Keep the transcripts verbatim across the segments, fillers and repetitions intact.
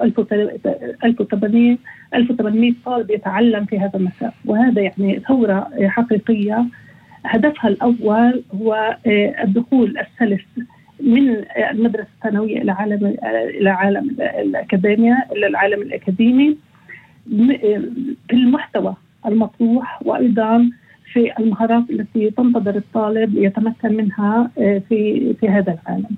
ألف وثمانمئة طالب يتعلم في هذا المساء، وهذا يعني ثورة حقيقية هدفها الأول هو الدخول السلس من المدرسة الثانوية إلى عالم إلى عالم الأكاديمية إلى العالم الأكاديمي في المحتوى المطروح، وأيضا في المهارات التي تنتظر الطالب يتمكن منها في في هذا العالم.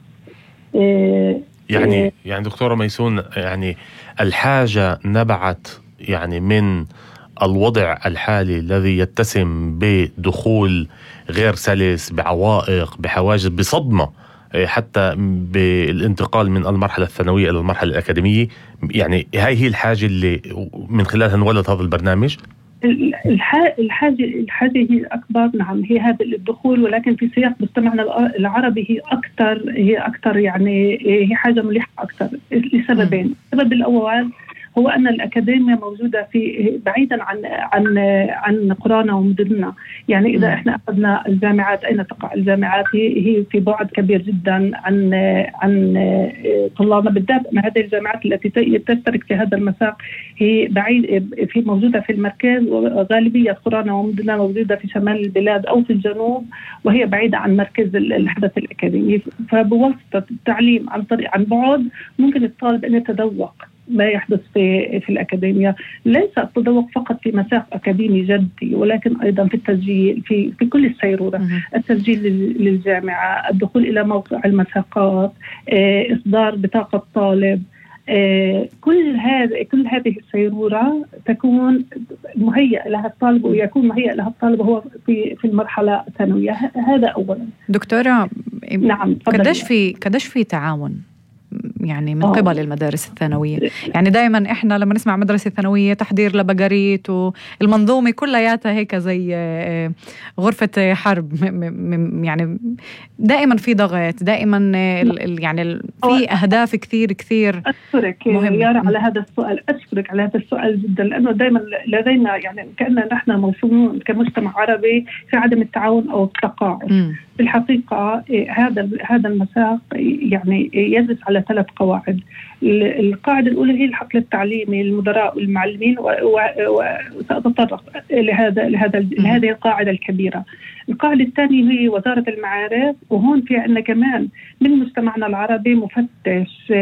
يعني يعني دكتورة ميسون، يعني الحاجة نبعت يعني من الوضع الحالي الذي يتسم بدخول غير سلس، بعوائق، بحواجز، بصدمة حتى بالانتقال من المرحلة الثانوية إلى المرحلة الأكاديمية. يعني هاي هي الحاجة اللي من خلالها انولد هذا البرنامج. الحاجة الحاجة هي أكبر، نعم، هي هذا الدخول، ولكن في سياق مجتمعنا العربي هي أكثر هي أكثر يعني هي حاجة ملحة أكثر لسببين. السبب الأول هو أن الأكاديمية موجودة في بعيدا عن عن عن قرانا ومدننا. يعني إذا إحنا أخذنا الجامعات، أين تقع الجامعات؟ هي هي في بعد كبير جدا عن عن طلابنا، بالذات أن هذه الجامعات التي تشترك في هذا المساق هي بعيد في موجودة في المركز، وغالبية قرانا ومدننا موجودة في شمال البلاد أو في الجنوب، وهي بعيدة عن مركز الحدث الأكاديمي. فبواسطة التعليم عن طريق عن بعد ممكن الطالب أن يتذوق ما يحدث في في الأكاديمية. ليس التذوق فقط في مساق أكاديمي جدي، ولكن أيضا في التسجيل في في كل السيرورة، التسجيل للجامعة، الدخول إلى موقع المساقات، إصدار بطاقة طالب، كل هذا كل هذه السيرورة تكون مهيئة لها الطالب، ويكون مهيئ لها الطالب هو في في المرحلة الثانوية. هذا أولا. دكتورة، نعم، قديش في قديش في تعاون يعني من قبل المدارس الثانوية؟ يعني دائما إحنا لما نسمع مدرسة ثانوية تحضير لبقريت والمنظومة كلياتها هيك زي غرفة حرب، يعني دائما في ضغط، دائما يعني في أهداف كثير كثير. أشكرك يارا على هذا السؤال، أشكرك على هذا السؤال جدا، لأنه دائما لدينا يعني كأننا نحن موصومون كمجتمع عربي في عدم التعاون أو التقاعد. في الحقيقة هذا هذا المساق يعني يجلس على ثلاث قواعد. القاعدة الأولى هي الحقل التعليمي للمدراء والمعلمين، وسأتطرق لهذا لهذا لهذه القاعدة الكبيرة. القاعدة الثانية هي وزارة المعارف، وهون في عندنا كمان من مجتمعنا العربي مفتش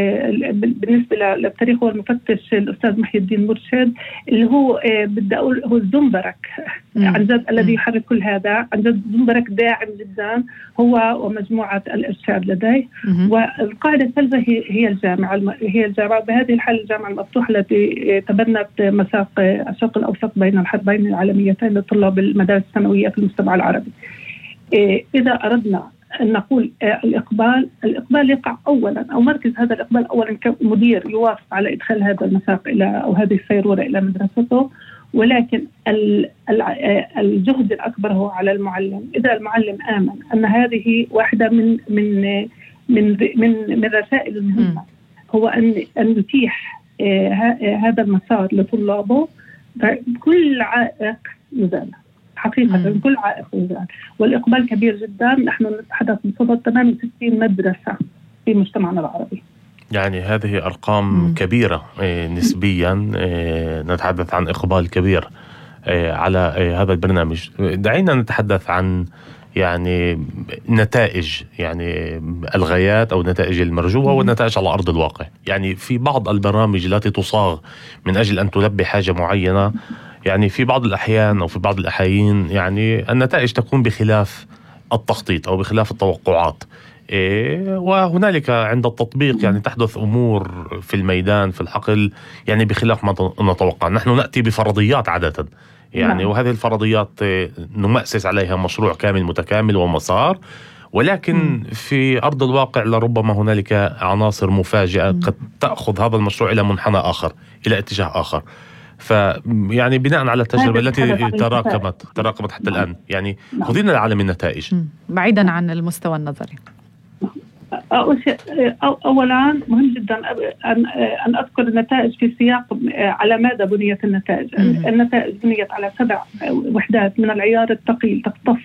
بالنسبة للتاريخ، هو المفتش الأستاذ محي الدين مرشد، اللي هو بدي أقول هو الزنبرك عن جد الذي يحرك كل هذا. عن جد زنبرك داعم جدا هو ومجموعة الإرشاد لديه. والقاعدة الثالثة هي هي الجامعة هي الجامعة بهذه الحالة الجامعة المفتوحة التي تبنت مساق الشرق الأوسط بين الحربين العالميتين لطلاب المدارس الثانوية في المجتمع العربي. إذا أردنا أن نقول الإقبال الإقبال يقع أولا، أو مركز هذا الإقبال أولا كمدير يوافق على إدخال هذا المساق إلى أو هذه السيرورة إلى مدرسته، ولكن الجهد الأكبر هو على المعلم. إذا المعلم آمن أن هذه واحدة من من من من من الرسائل المهمة، هو أن أن يتيح هذا المسار لطلابه، كل عائق يزال حقيقة. مم. كل عائق يزال، والإقبال كبير جدا. نحن نتحدث بصدد ثمانية وستين مدرسة في مجتمعنا العربي. يعني هذه أرقام مم. كبيرة نسبيا. نتحدث عن إقبال كبير على هذا البرنامج. دعينا نتحدث عن يعني نتائج، يعني الغايات أو النتائج المرجوة والنتائج على أرض الواقع. يعني في بعض البرامج التي تصاغ من أجل أن تلبي حاجة معينة، يعني في بعض الأحيان أو في بعض الأحايين يعني النتائج تكون بخلاف التخطيط أو بخلاف التوقعات. إيه، وهنالك عند التطبيق يعني تحدث أمور في الميدان في الحقل يعني بخلاف ما نتوقع. نحن نأتي بفرضيات عادة يعني، وهذه الفرضيات نمأسس عليها مشروع كامل متكامل ومسار، ولكن في أرض الواقع لربما هنالك عناصر مفاجئة قد تأخذ هذا المشروع إلى منحنى آخر، إلى اتجاه آخر. فيعني بناء على التجربة التي تراكمت تراكمت حتى الآن، يعني خذينا لعالم النتائج بعيدا عن المستوى النظري. أولا مهم جدا أن أن أذكر النتائج في سياق على ماذا بنيت النتائج. النتائج بنيت على سبع وحدات من العيار الثقيل تختص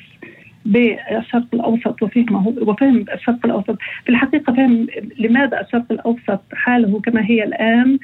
بالشرق الأوسط وفهمه وفهم الشرق الأوسط. في الحقيقة فهم لماذا الشرق الأوسط حاله كما هي الآن